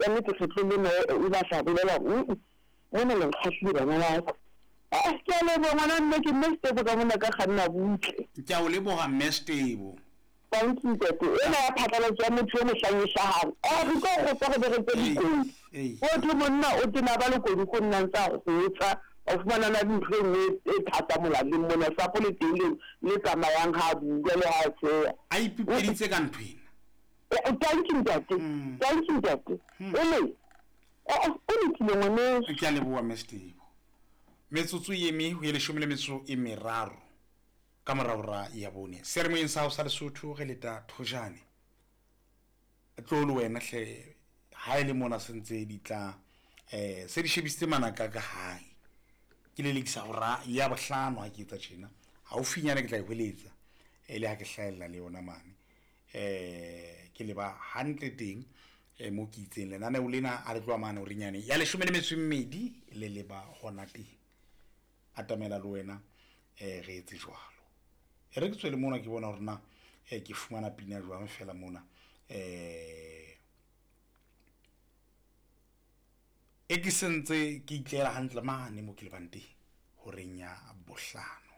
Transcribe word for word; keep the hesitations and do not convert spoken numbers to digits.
nnete kgetlong lena o batla bolela hore mona le nkgahlile bana ba ka. Eh, ke a leboha ngwana mme, ke mme Setebo ka mona ka kganna butle. Ke a o leboha mme Setebo. Thank you ntate. Ena ya phatlalatso ya motho e mohlang e hlahang. Eh, re tlo kgotsa re be re tse dikodi. Ho thwe monna o tena ba lekodi go nna ntse a kgotsa. O fumana na le ntho e nngwe e thata molaleng mona, sapo le teng le le tsamayang ha a bua le ha a tsheha. A ipipeditse ka ntho ena. Thank you ntate. Thank you ntate. O le eh o lokile ngwaneso. Ke a leboha mme Setebo. Metsotso e eme ho ye leshome le metsotso e meraro ka mora hora ya bone. Seyalemoyeng sa hao sa Lesotho re leta thojane. Tlo le wena hle ha e le mona se ntse di tla eh se di shebisitse manaka ka hae. Ke lelekisa hora ya bohlano ha ke etsa tjena. Haufinyana ke tla e hweletsa e le ha ke hlahella le yona mane. Eh ke leba hantle teng eh mo ke itseng lenaneo lena a le tloha mane horeng yane ya leshome le metso e mmedi le leba hona teng. Atamela le wena eh re etse jwalo. E re ke tswele mona ke bona hore na eh ke fumana pina jwang fela mona. Eh e ke sentse ke itlela hantle mane mo ke lebang teng horeng ya bohlano.